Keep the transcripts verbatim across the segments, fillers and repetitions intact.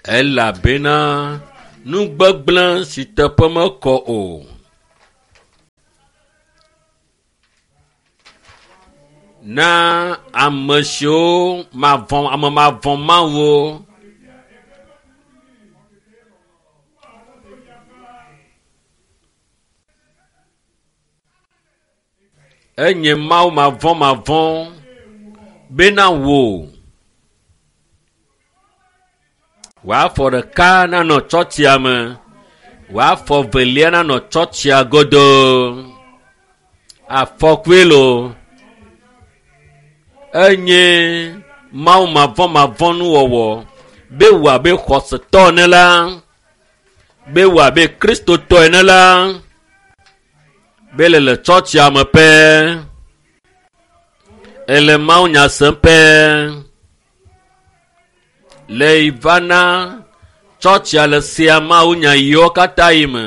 Elabena nu gbegblẽ si teƒe mekɔ o. Na ame siwo mavɔ̃ ame mavɔ̃ Mawuwo. Enye Mawu mavɔ̃mavɔ̃ bena wò wò afɔ ɖeka nanɔ tsɔtsia me, wò afɔ velia nanɔ tsɔtsia godoo. Afɔkue loo. Enye Mawu mavɔ̃mavɔ̃ nuwɔwɔ be wò abe xɔsetɔ ene la, be wò abe kristotɔ ene la, be le le tsɔtsia me pɛ, ele Mawu nya sem pɛ. Le yi va na tsɔtsia le sea Mawu nya yiwo katã yi me.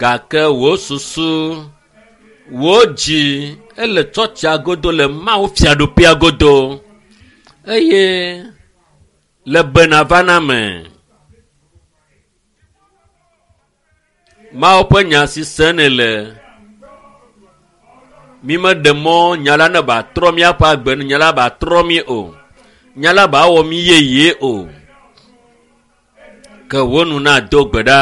Gake wò susu, wò dzi ele tsɔtsia godo le Mawu fiaɖuƒea godo eye le bena va na me. Mawu ƒe nya si sem nèle. Mi meɖe mɔ nya la ne ba trɔ míaƒe agbe ne nya la ba trɔ mí o. Nya la ba wɔ mí yeye o. Ke wò nu na do gbe ɖa.